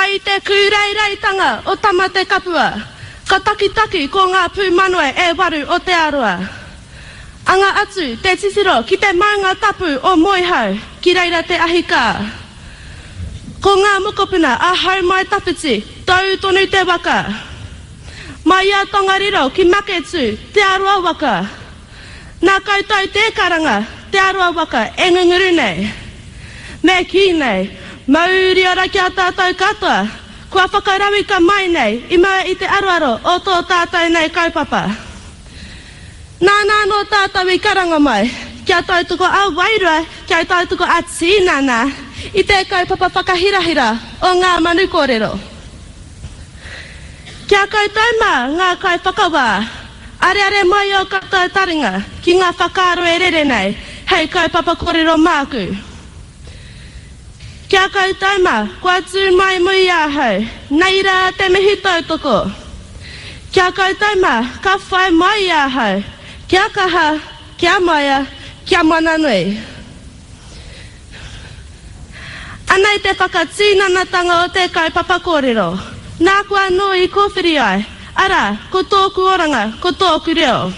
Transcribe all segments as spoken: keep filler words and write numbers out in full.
Mai i te kūreireitanga o Tamatekapua, ka takitaki ko ngā pūmanawa e waru o Te Arawa. Anga atu te titiro ki te maunga tapu o Moehau, ki reira te ahi kā. Ko ngā mokopuna a Houmaitawhiti, tau tonu te waka. Mai i a Tongariro ki Maketū, Te Arawa waka. Nā koutou te karanga, Te Arawa waka e ngunguru nei. Me kī nei, mauri ora ki a tātou katoa, kua whakarauika mai nei i mua i te aroaro o tō tātou nei kaupapa. Nāna anō tātou i karanga mai, kia tautoko ā-wairua, kia tautoko ā-tinana i te kaupapa whakahirahira o Ngā Manu Kōrero. Ki a koutou mā ngā kaiwhakawā, areare mai ō koutou taringa ki ngā whakaaro e rere nei hei kaupapa kōrero māku. Ki a koutou mā kua tū mai mui i ahau, nei rā te mihi tautoko. Ki a koutou mā ka whai mai i ahau, kia kaha, kia maia, kia mana nui. Anei te whakatinanatanga o te kaupapa kōrero, nāku anō i kōwhiri ai, arā, ko tōku oranga, ko tōku reo.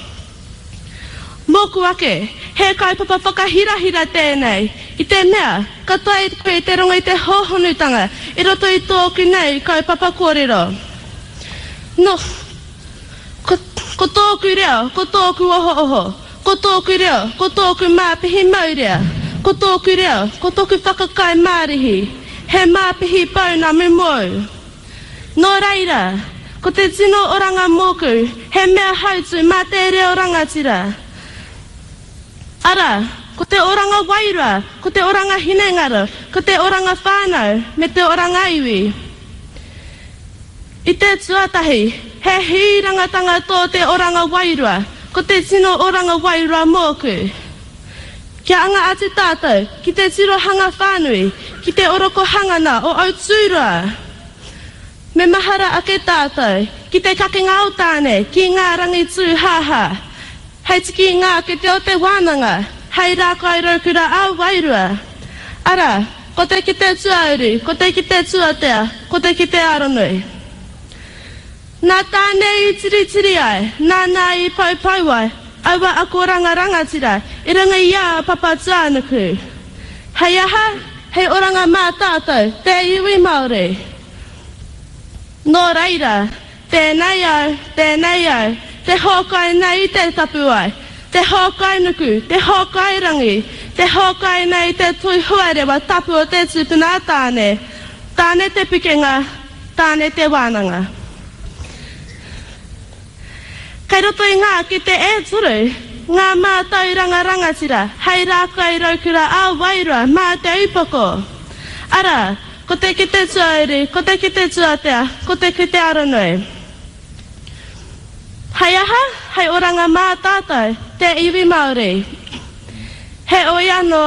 Mōku ake, he kaupapa whakahirahira tēnei, i te mea, ka taea koe te rongo i te hōhonutanga i roto i tōku nei kaupapa kōrero. Nō, ko, ko tōku reo, ko tōku ohooho, ko tōku reo, ko tōku māpihi maurea, ko tōku reo, ko tōku whakakai mārihi, he māpihi pounamu mōu. Nō reira, ko te tino oranga mōku, he mea hautū mā te reo rangatira. Arā, ko te oranga wairua, ko te oranga hinengaro, ko te oranga whānau, me te oranga iwi. I te tuatahi, he hīrangatanga tō te oranga wairua, ko te tino oranga wairua mōku. Kia anga atu tātou ki te tirohanga whānui, ki te orokohangana o Aotearoa. Me mahara ake tātou ki te kakenga o Tāne ki ngā rangi tūhāhā, hei tiki i ngā kete o te wānanga, hei rākai raukura ā-wairua. Arā, ko te kete tuauru, ko te kete tuatea, ko te kete aronui. Nā Tāne i tiritiri ai, nāna i poupou ai aua akoranga rangatira i runga i a Papatūānuku. Hei aha? Hei oranga mā tātou, te iwi Māori. Nō reira, tēnei au, tēnei au, te hōkai nei i te tapuwae, te hōkai nuku, te hōkai rangi, te hōkai nei i te toi huarewa tapu o te tupuna a Tāne, Tāne te pukenga, Tāne te wānanga. Kei roto i ngā kete e toru ngā mātauranga rangatira hei rākai raukura ā-wairua mā te upoko. Arā, ko te kete tuauru, ko te kete tuatea, ko te kete aronui. Hei aha? Hei oranga mā tātou, te iwi Māori. Heoi anō,